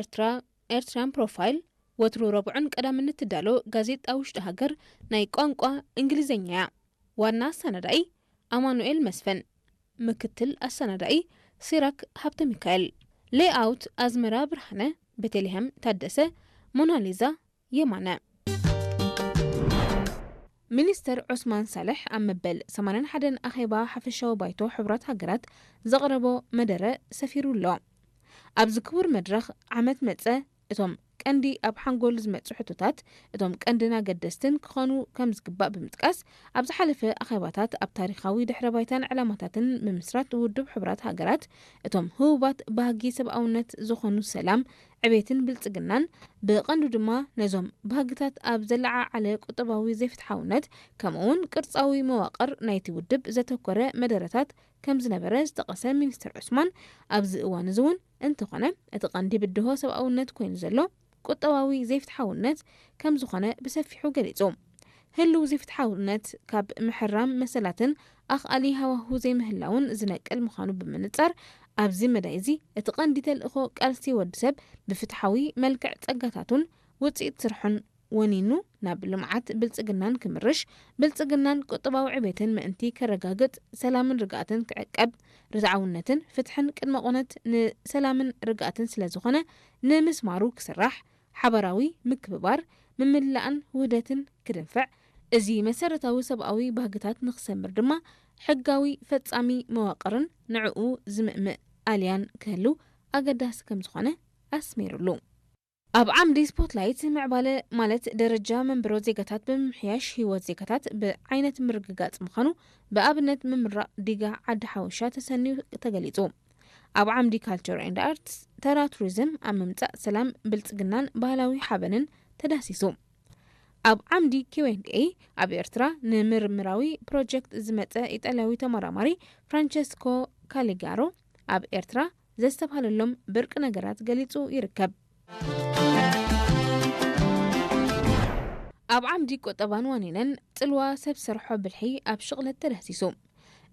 ኤርትራ፣ ኤርትራን ፕሮፋይል፣ ወትሩ ረቡዕን ቀዳምን እትዳሎ ጋዜጣ ውሽጢ ሃገር ናይ ቋንቋ እንግሊዝኛ እያ። ዋና ኣሰናዳኢ ኣማኑኤል መስፍን፣ ምክትል ኣሰናዳኢ ሲራክ ሃብተ ሚካኤል፣ ሌይኣውት ኣዝመራ ብርሃነ፣ ቤተልሔም ታደሰ፣ ሞናሊዛ የማነ። ሚኒስተር ዑስማን ሳልሕ ኣብ መበል ሰማንያን ሓደን ኣኼባ ሓፈሻዊ ባይቶ ሕቡራት ሃገራት ዘቕረቦ መደረ ሰፊሩ ኣሎ። ኣብዚ ክቡር መድረኽ ዓመት መጸ እቶም ቀንዲ ኣብ ሓንጎል ዝመጹ ሕቶታት እቶም ቀንድን ኣገደስትን ክኾኑ ከም ዝግባእ ብምጥቃስ፣ ኣብ ዝሓለፈ ኣኼባታት ኣብ ታሪኻዊ ድሕረ ባይታን ዕላማታትን ምምስራት ውድብ ሕቡራት ሃገራት እቶም ህቡባት ባህጊ ሰብኣውነት ዝኾኑ ሰላም፣ ዕቤትን ብልጽግናን፣ ብቐንዱ ድማ ነዞም ባህግታት ኣብ ዘለዓዓለ ቁጠባዊ ዘይፍትሓውነት፣ ከምኡ'ውን ቅርጻዊ መዋቕር ናይቲ ውድብ ዘተኮረ መደረታት ከም ዝነበረ ዝጠቐሰ ሚኒስተር ዑስማን፣ ኣብዚ እዋን እዚ እውን እንተኾነ፣ እቲ ቀንዲ ብድሆ ሰብኣውነት ኮይኑ ዘሎ ቁጠባዊ ዘይፍትሓውነት ከም ዝኾነ ብሰፊሑ ገሊጹ። ህልው ዘይፍትሓውነት ካብ ምሕራም መሰላትን ኣኽኣሊ ሃዋሁ ዘይምህላውን ዝነቅል ምዃኑ ብምንጻር፣ ኣብዚ መዳይ እዚ እቲ ቀንዲ ተልእኾ ቃልሲ ወዲ ሰብ ብፍትሓዊ መልክዕ ጸጋታቱን ውጽኢት ስርሑን ወኒኑ ናብ ልምዓት ብልጽግናን ክምርሽ፣ ብልጽግናን ቁጠባዊ ዕቤትን ምእንቲ ከረጋግጽ፣ ሰላምን ርግኣትን ክዕቀብ፣ ርትዓውነትን ፍትሕን ቅድመ ቁነት ንሰላምን ርግኣትን ስለ ዝኾነ፣ ንምስማሩ ክስራሕ፣ ሓባራዊ ምክብባር፣ ምምላእን ውህደትን ክድንፍዕ፣ እዚ መሰረታዊ ሰብኣዊ ባህግታት ንክሰምር ድማ ሕጋዊ ፈጻሚ መዋቕርን ንዕኡ ዝምእምእ ኣልያን ክህልው ኣገዳሲ ከም ዝኾነ ኣስሚሩሉ። ኣብ ዓምዲ ስፖትላይት፣ ምዕባለ ማለት ደረጃ መንበሮ ዜጋታት ብምምሕያሽ ህይወት ዜጋታት ብዓይነት ምርግጋጽ ምዃኑ ብኣብነት ምምራቕ ዲጋ ዓዲ ሓወሻ ተሰንዩ ተገሊጹ። ኣብ ዓምዲ ካልቸር ኤንድ ኣርትስ፣ ተራ ቱሪዝም ኣብ ምምጻእ ሰላም፣ ብልጽግናን ባህላዊ ሓበንን ተዳህሲሱ። ኣብ ዓምዲ ኪው ኤንድ ኤ፣ ኣብ ኤርትራ ንምርምራዊ ፕሮጀክት ዝመጸ ኢጣልያዊ ተመራማሪ ፍራንቸስኮ ካሊጋሮ ኣብ ኤርትራ ዘስተብሃለሎም ብርቂ ነገራት ገሊጹ ይርከብ። ኣብ ዓምዲ ቁጠባን ዋኒነን፣ ጽልዋ ሰብ ሰርሖ ብልሒ ኣብ ሽቕለት ተዳህሲሱ።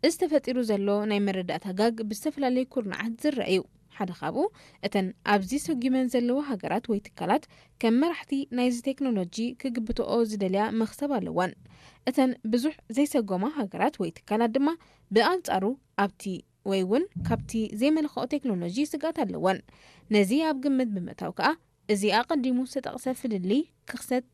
እዚ ተፈጢሩ ዘሎ ናይ መረዳእታ ጋግ ብዝተፈላለዩ ኩርናዓት ዝረአ እዩ። ሓደ ካብኡ፣ እተን ኣብዚ ሰጒመን ዘለዋ ሃገራት ወይ ትካላት ከም መራሕቲ ናይዚ ቴክኖሎጂ ክግብትኦ ዝደልያ መኽሰብ ኣለወን። እተን ብዙሕ ዘይሰጎማ ሃገራት ወይ ትካላት ድማ ብኣንጻሩ ኣብቲ ወይ እውን ካብቲ ዘይመልክኦ ቴክኖሎጂ ስግኣት ኣለወን። ነዚ ኣብ ግምት ብምእታው ከኣ፣ እዚ ኣቐዲሙ ዝተጠቕሰ ፍልልይ ክኽሰት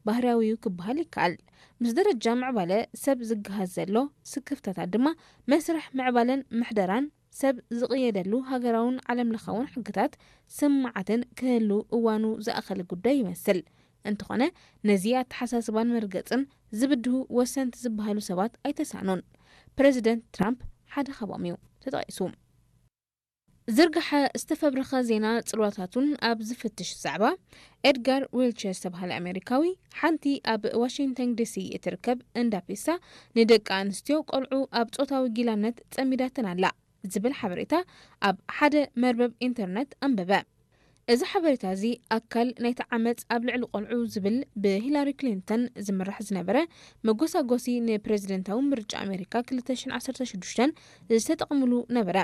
ባህርያዊ እዩ ክበሃል ይከኣል። ምስ ደረጃ ምዕባለ ሰብ ዝገሃዝ ዘሎ ስክፍታታት ድማ፣ መስርሕ ምዕባለን ምሕደራን ሰብ ዝቕየደሉ ሃገራውን ዓለምለኻውን ሕግታት ስምማዓትን ክህሉ እዋኑ ዝኣኸለ ጉዳይ ይመስል። እንተኾነ፣ ነዚ ኣተሓሳስባን መርገጽን ዝብድሁ ወሰንቲ ዝበሃሉ ሰባት ኣይተሳእኑን። ፕረዚደንት ትራምፕ ሓደ ካብኦም እዩ ተጠቒሱ። ዝርግሐ ዝተፈብረኸ ዜና ጽልዋታቱን ኣብ ዝፍትሽ ዛዕባ፣ ኤድጋር ዊልቸ ዝተባህለ ኣሜሪካዊ፣ ሓንቲ ኣብ ዋሽንግተን ዲሲ እትርከብ እንዳ ፒሳ ንደቂ ኣንስትዮ ቆልዑ ኣብ ጾታዊ ጊላነት ጸሚዳተን ኣላ ዝብል ሓበሬታ ኣብ ሓደ መርበብ ኢንተርነት ኣንበበ። እዚ ሓበሬታ እዚ ኣካል ናይቲ ዓመጽ ኣብ ልዕሊ ቆልዑ ዝብል ብሂላሪ ክሊንተን ዝምራሕ ዝነበረ መጎሳጎሲ ንፕረዚደንታዊ ምርጫ ኣሜሪካ ክልተ ሽሕን ዓሰርተ ሽዱሽተን ዝተጠቕምሉ ነበረ።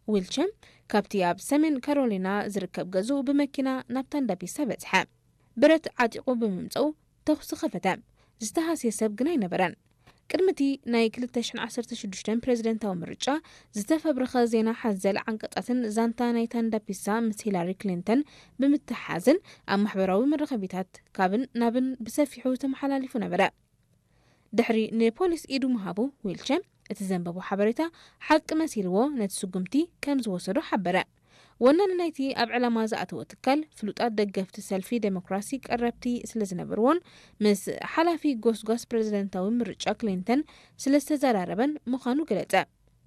ዊልቸም ካብቲ ኣብ ሰሜን ካሮሊና ዝርከብ ገዝኡ ብመኪና ናብታ እንዳ ፒሳ በጽሐ። ብረት ዓጢቑ ብምምጽኡ ተኹሲ ከፈተ። ዝተሃስየ ሰብ ግን ኣይነበረን። ቅድሚ እቲ ናይ ክልተ ሽሕን ዓሰርተ ሽዱሽተን ፕረዚደንታዊ ምርጫ ዝተፈብረኸ ዜና ሓዘል ዓንቀጻትን ዛንታ ናይታ እንዳ ፒሳ ምስ ሂላሪ ክሊንተን ብምትሓሓዝን ኣብ ማሕበራዊ መራኸቢታት ካብን ናብን ብሰፊሑ ተመሓላሊፉ ነበረ። ድሕሪ ንፖሊስ ኢዱ ምሃቡ፣ ዊልቸ እቲ ዘንበቦ ሓበሬታ ሓቂ መሲልዎ ነቲ ስጉምቲ ከም ዝወሰዶ ሓበረ። ወናኒ ናይቲ ኣብ ዕላማ ዝኣተወ ትካል፣ ፍሉጣት ደገፍቲ ሰልፊ ዴሞክራሲ ቀረብቲ ስለ ዝነበርዎን ምስ ሓላፊ ጎስጓስ ፕረዚደንታዊ ምርጫ ክሊንተን ስለ ዝተዘራረበን ምዃኑ ገለጸ።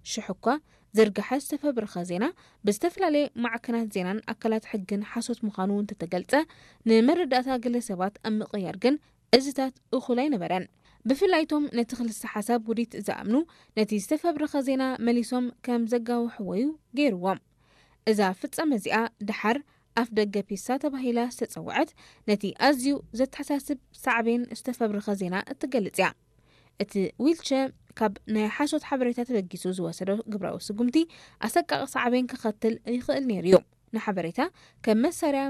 ሽሕ እኳ ዝርግሐ ዝተፈብረኸ ዜና ብዝተፈላለየ ማዕከናት ዜናን ኣካላት ሕግን ሓሶት ምዃኑ እንተተገልጸ፣ ንመረዳእታ ገለ ሰባት ኣብ ምቕያር ግን እዚታት እኹል ኣይነበረን። ብፍላይ እቶም ነቲ ክልሰ ሓሳብ ውዲት ዝኣምኑ፣ ነቲ ዝተፈብረኸ ዜና መሊሶም ከም ዘጋውሕዎ እዩ ገይርዎም። እዛ ፍጻመ እዚኣ ደሓር ኣፍ ደገ ፒሳ ተባሂላ ዝተጸውዐት፣ ነቲ ኣዝዩ ዘተሓሳስብ ሳዕቤን ዝተፈብረኸ ዜና እትገልጽ እያ። እቲ ዊልቸ ካብ ናይ ሓሶት ሓበሬታ ተበጊሱ ዝወሰዶ ግብራዊ ስጉምቲ ኣሰቃቒ ሳዕቤን ከኸትል ይኽእል ነይሩ እዩ። ንሓበሬታ ከም መሳርያ